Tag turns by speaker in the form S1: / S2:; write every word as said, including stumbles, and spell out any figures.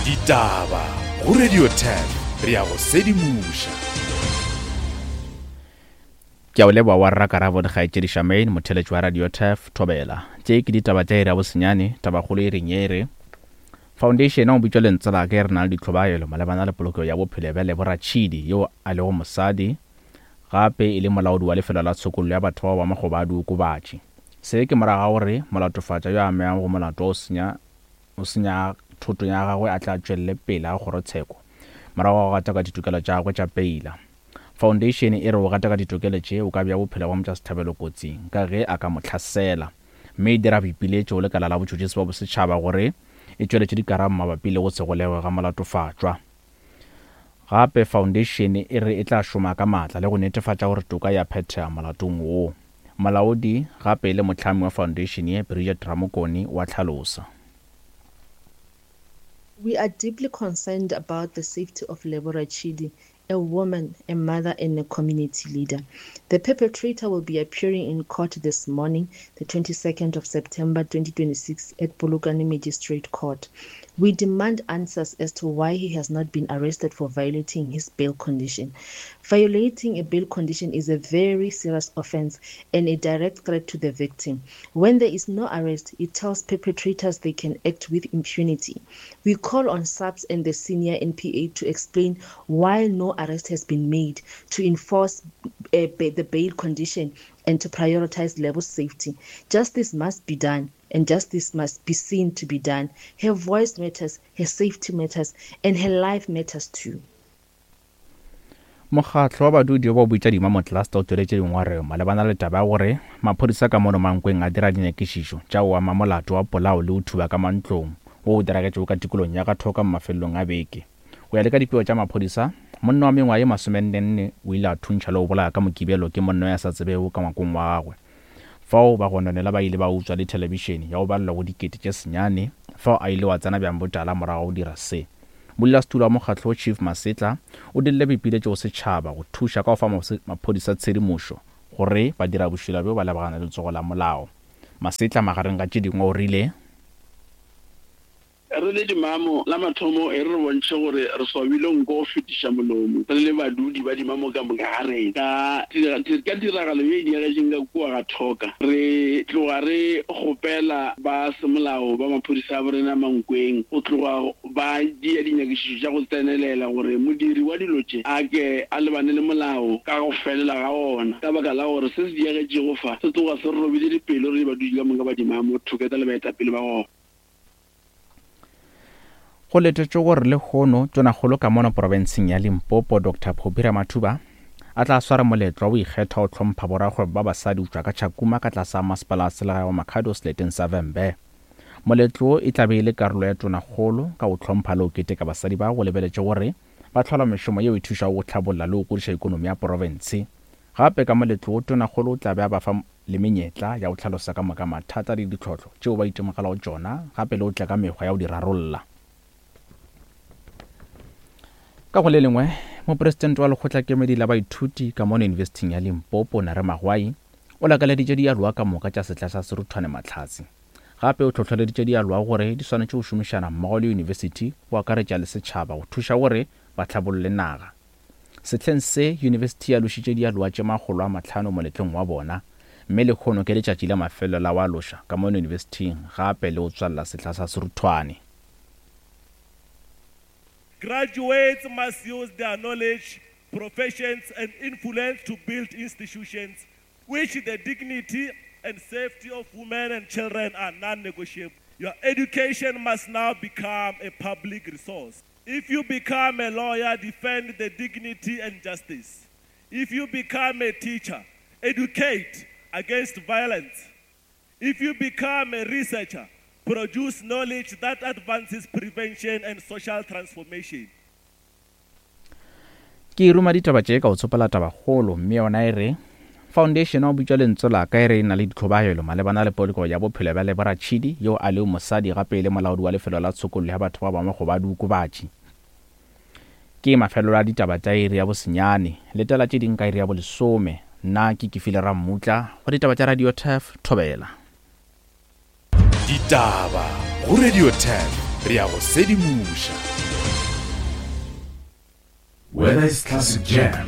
S1: Ditaba go Radio ten re ya go sedimoša.
S2: Ke a o leboga wa rra Karabo dikgaetšedi Charmaine, motheletši wa Radio Turf Thobela. Tše ke ditaba tša iri ya bosenyane, tabakgolo e reng ye re Foundation ya go bitšwa Lentswe la ka e re na le ditlhobaelo malebana le polokego ya bophelo bja Lebo Ratšhidi yo a lego mosadi gape e le molaodi wa lefelo la tshokollo ya batho bao ba makgoba a diokobatši. Se ke morago ga gore molatofatša yo a amegago go molato wa go senya o senya thoto ya gagwe a tla tšwelele pele ga kgorotsheko morago ga go gataka ditokelo tša gagwe tša peila. Foundation e re o gataka ditokelo tše o ka bea bophelo bja motšwasehlabelo kotsing ka ge a ka mo hlasela, mme e dira boipiletšo go lekala la botšhotšhisi ba bosetšhaba gore e tšweletše dikarabo mabapi le go se golegwe ga molatofatšwa. Gape foundation e re e tla šoma ka maatla le go netefatša gore toka ya phethega molatong wo. Molaodi gape e le mohlami wa foundation ye, Bridget Ramokone, wa hlalosa.
S3: We are deeply concerned about the safety of Lebo Ratshidi, a woman, a mother, and a community leader. The perpetrator will be appearing in court this morning, the twenty-second of September twenty twenty-six, at Polokwane Magistrate Court. We demand answers as to why he has not been arrested for violating his bail condition. Violating a bail condition is a very serious offense and a direct threat to the victim. When there is no arrest, it tells perpetrators they can act with impunity. We call on S A P S and the senior N P A to explain why no arrest has been made, to enforce, uh, ba-, the bail condition and to prioritize Lebo's safety. Justice must be done, and justice must be seen to be done. Her voice matters, her safety matters, and her life matters too.
S2: Mokgatlo wa badudi ba bitša Dimamo Cluster o tšweletše dingongorego malebana le taba ya gore maphodisa ka mono Mankweng a dira dinyakišišo tša go ama molato wa polao le go thuba ka mantlong wo o diragetšego ka tikolong ya Gathoka mo mafelelong a beke. Go ya le ka dipego tša maphodisa, monna wa mengwaga ye masomennenne o ile a thuntšha le go bolaya ka Mokibelo ke monna yo a sa tsebego ka ngwakong wa gagwe. Fao bagononelwa ba ile ba utswa le thelebišene ya go balelwa go dikete tše senyane, fao a ile wa tsena bjang botala morago go dira se. Modulasetulo wa mokgatlo Chief Masetla o dirile boipiletšo go setšhaba go thuša ka go fa maphodisa tshedimošo gore ba dira bošula bjo ba lebagana le letsogo la molao. Masetla magareng ga tše dingwe o rile,
S4: Re le Dimamo la mathomo e re re bontšhe gore re swabile nko go fetiša molomo re le badudi ba Dimamo ka moka ga rena. Ka ka tiragalo ye e diagetšeng ka kua ga Thoka, re tloga re kgopela ba semolao ba maphodisa a borena Mankweng go tloga ba dia dinyakišišo tša go tsenelela gore modiri wa dilo tše a ke a lebane le molao ka go felela ga ona, ka baka la gore se se diagetšego fa se tloga se re robile dipelo re le badudi ka moka ba Dimamo, Thoketa le baetapele ba gona.
S2: Go letetšwe gore lehono Tonakgolo ka mono profenseng ya Limpopo Doctor Phophi Ramathuba a tla swara moletlo wa go ikgetha go hlompha borakgwebo ba basadi go tšwa ka Tšhakuma ka tlase ga masepala wa selegae wa Makhado seleteng sa Vhembe. Moletlo e tla be e le karolo ya Tonakgolo ka go hlompha le go keteka basadi ba go lebeletše gore ba hlola mešomo yeo e thušago go hlabolla le go godiša ikonomi ya profense. Gape ka moletlo wo Tonakgolo o tla be a ba fa le menyetla ya go hlalosa ka moka mathata le ditlhohlo tšeo ba itemogelago tšona, gape le go tla ka mekgwa ya go di rarolla. Ka go le lengwe, mopresidente wa lekgotlakemedi la baithuti ka mono Yunibesithing ya Limpopo Nare Magwai o lakaleditše dialoga ka moka tša sehla sa Seruthwane Mahlatse. Gape o hlohleleditše dialoga gore di swanetše go šomišana mmogo le yunibesithi go akaretša le setšhaba go thuša gore ba hlabolle naga. Sehleng se, yunibesithi ya lošitše dialoga tše makgolo a mahlano moletlong wa bona, mme lehono ke letšatši la mafelo la wa loša ka mono yunibesithing gape le go tswalela sehla sa Seruthwane.
S5: Graduates must use their knowledge, professions, and influence to build institutions which the dignity and safety of women and children are non-negotiable. Your education must now become a public resource. If you become a lawyer, defend the dignity and justice. If you become a teacher, educate against violence. If you become a researcher, produce knowledge that advances prevention and social transformation.
S2: Ke ruma ditaba tše ka go tsopela tabakgolo, mme yona e re Foundation ya go bitšwa Lentswe la ka e re e na le ditlhobaelo malebana le poloko ya bophelo bja Lebo Ratšhidi yo a lego mosadi gape e le molaodi wa lefelo la tshokollo ya batho ba bangwe go ba diokobatši. Ke mafelelo a ditaba tša iri ya bosenyane, letela tše ding ka iri ya bolesome. Nna ke Kefile Rammutla go ditaba tša Radio Turf Thobela.
S1: Ditaba go Radio Turf re ya go sedimoša. Whether it's classic jam,